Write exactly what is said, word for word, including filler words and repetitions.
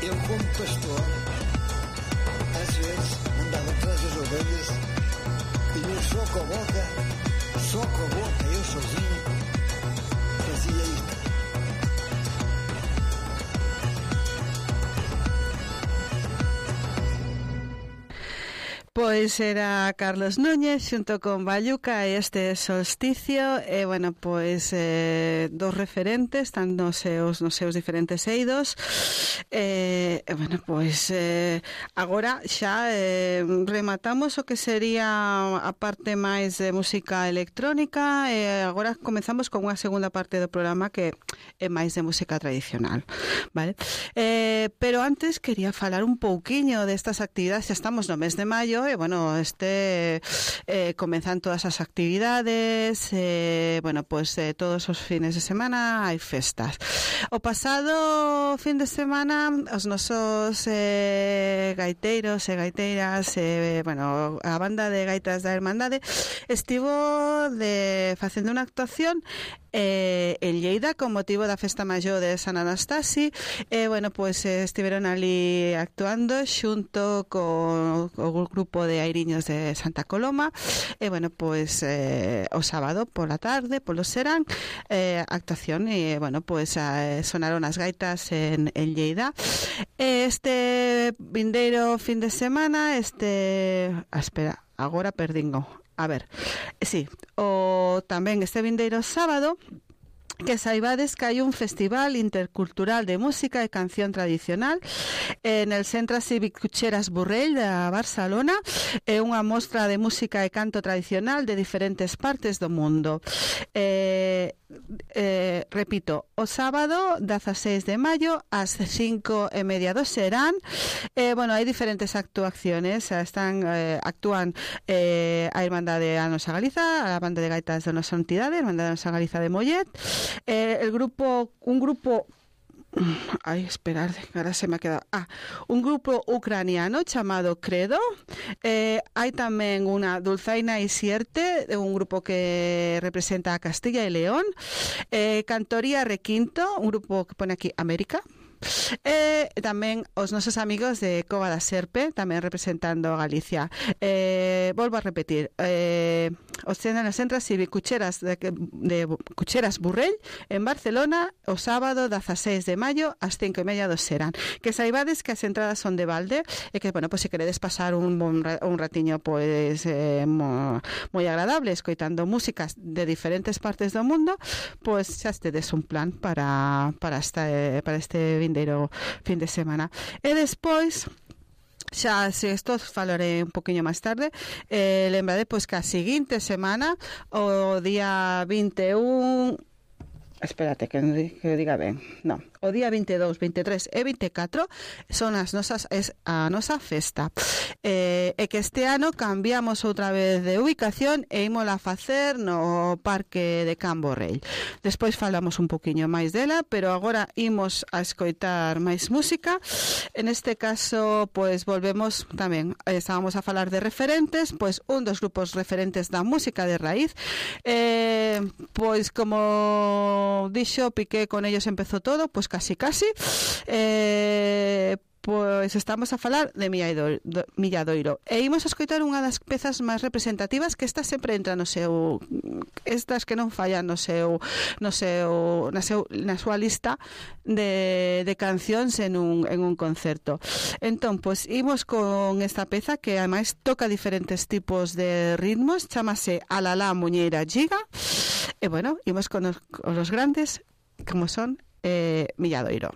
eu como pastor, às vezes, andava atrás das ovelhas e eu só com a boca, só com a boca, eu sozinho, fazia isto. Pois era Carlos Núñez xunto con Bayuca e este solsticio e, bueno, pois eh, dos referentes tan nos seus, nos seus diferentes eidos e, eh, bueno, pois eh, agora xa eh, rematamos o que sería a parte máis de música electrónica e agora comezamos con unha segunda parte do programa que é máis de música tradicional, vale? Eh, pero antes quería falar un pouquiño destas actividades, xa estamos no mes de maio e, bueno, este eh, comenzan todas as actividades eh, bueno, pues eh, todos os fines de semana hai festas. O pasado fin de semana os nosos eh, gaiteiros e gaiteiras eh, bueno, a banda de gaitas da Hermandade estivo de facendo unha actuación eh, en Lleida con motivo da festa maior de San Anastasi e, eh, bueno, pues eh, estiveron ali actuando xunto co, co grupo de airiños de Santa Coloma e, bueno, pues eh, o sábado pola tarde, polo serán eh, actuación e, bueno, pues eh, sonaron as gaitas en, en Lleida. Este vindeiro fin de semana este... Ah, espera, agora perdingo. A ver, sí, o tamén este vindeiro sábado que saibades que hai un festival intercultural de música e canción tradicional en el Centre Cívic Cucheras Burrell da Barcelona. É unha mostra de música e canto tradicional de diferentes partes do mundo. Eh, eh, repito, o sábado dezaseis de maio ás cinco e media do serán. Eh, bueno, hai diferentes actuaciones, están eh, actúan eh, a Irmandade a Nosa Galiza, a banda de gaitas da nosa entidade, a Irmandade a Nosa Galiza de Mollet. Eh, el grupo, un grupo, ay, esperar, ahora se me ha quedado, ah, un grupo ucraniano chamado Credo. Eh, hai tamén unha Dulzaina y Sierte, un grupo que representa a Castilla y León. Eh, Cantoría Requinto, un grupo que pone aquí América. E tamén os nosos amigos de Cova da Serpe, tamén representando a Galicia. Eh, volvo a repetir, eh, os centros no Centro Cívic Cucheras de, de Cucheras Burrell en Barcelona o sábado dezaseis de maio ás cinco e media do serán. Que saibades que as entradas son de balde e que, bueno, pues se queredes pasar un, un, un ratiño pues eh, mo, moi agradable escoitando músicas de diferentes partes do mundo, pues xa estedes un plan para, para, esta, para este vindeiro fin de semana. E despois xa, se isto falaré un poquinho máis tarde, eh, lembrade pois que a seguinte semana o día vinte e un, espérate que, que diga ben, non, o día vinte e dous, vinte e tres e vinte e catro son as nosas, es a nosa festa. Eh, e que este ano cambiamos outra vez de ubicación e ímola facer no Parque de Can Borrell. Despois falamos un poquinho máis dela, pero agora imos a escoitar máis música. En este caso, pois volvemos tamén, estábamos a falar de referentes, pois un dos grupos referentes da música de raíz, eh, pois como dixo Piqué, con ellos empezou todo, pois casi casi eh, pois estamos a falar de Milladoiro e imos a escoitar unha das pezas máis representativas, que esta sempre entra no seu, estas que non fallan no seu, no seu, na, seu, na súa lista de, de cancións en un, en un concerto. Entón, pois imos con esta peza que ademais toca diferentes tipos de ritmos, chamase Alalá Muñeira Giga e, bueno, imos con os, con los grandes como son eh, Milladoiro.